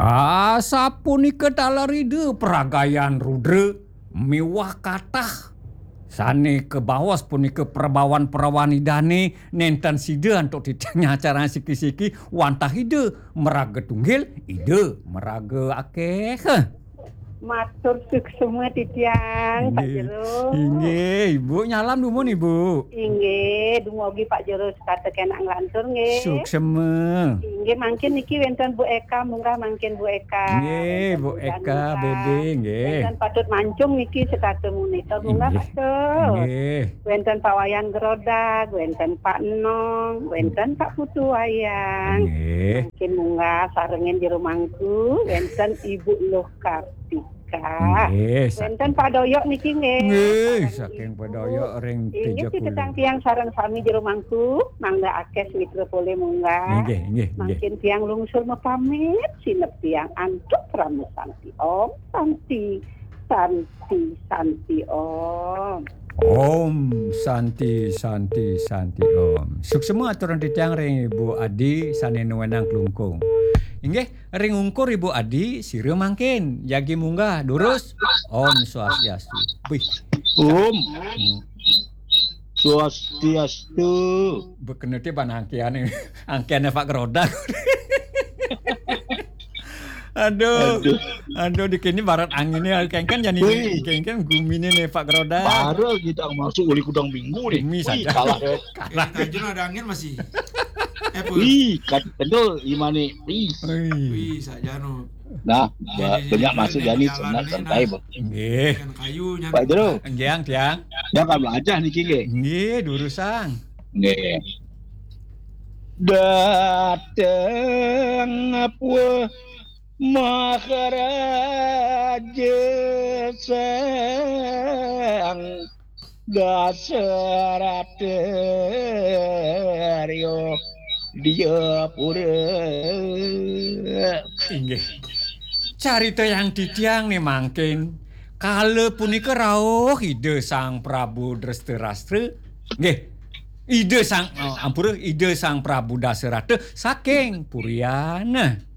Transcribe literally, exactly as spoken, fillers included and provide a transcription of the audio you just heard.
Asapunika taler Ida pragayan rudra miwah katah sane kabaos punika prabawan-prawan Idane, nenten sida antuk titiang nyacarang siki-siki wantah Ida maraga tunggil, Ida maraga akeh. Matur suksma titiang, Pak Inggih. Jero. Inggih, Ibu nyalam dumun, Ibu. Inggih, dumugi Pak Jero setata kenak nglantur, nggih. Suksma. Inggih, mangkin niki wenten Bu Eka, munggah mangkin Bu Eka. Nggih, wenten Bu Eka, Bebe, nggih. Wenten Patut Mancung niki setata monitor, munggah Inggih. Patut. Nggih. Wenten Pak Wayan Gerodag, wenten Pak Enong, wenten Pak Putu Wayang. Nggih. Mangkin munggah sarengin jero mangku, wenten Ibu Luh Kartika. Nggih, wenten Pak Doyok niki nggih. Nggih, sareng saking Ibu. Pak Doyok ring Inggih, Teja Kulon. Titiang tiang sareng sami jero mangku, mangda akeh mitra polih munggah. Nggih, nggih, nggih. Mangkin tiang lungsur mapamit, sineb tiang antuk krama santi. Om Santi, Santi, Santi Om. Om Santi, Santi, Santi Om. Suksma aturang titiang ring Ibu Adi sane nuenang Klungkung. Inggih, ring ungkur Ibu Adi, sira mangkin jagi munggah, durus. Om Swastiastu. Wih. Om. Hmm. Swastiastu. Bekene te ban angkiane, angkiane Pak Gerodak. Aduh. Aduh. Aduh, di kini barat angine, kengken jani Wih. Kengken gumine ne Pak Gerodak. Baru kita masuk uli kudang minggu nih. Gumi Wih, saja. Kalah. Kalah. Eh, Tanjung ada angin masih. Eh, Pul. Wih, kat kendul imane. Wih. Wih. Wih, sajano. Nah, Jadi, ba-, banyak jadi, masuk jadi jani jalan senat ini, santai, nah. Bang. Nggih. Dengan kayu, Pak Jero. Nggih, Ang, tiang. Ya, kan belajar niki, nggih. Nggih, durusang. Nggih. Dateng apa Maharaja Sang Dasarata Rio Diapura. Inggih. Carita yang titiang ne mangkin. Kala punika rauh Ida Sang Prabu Drestarstra. Nggih. Ida Sang, oh, ampura, Ida Sang Prabu Dasarata saking Puriana.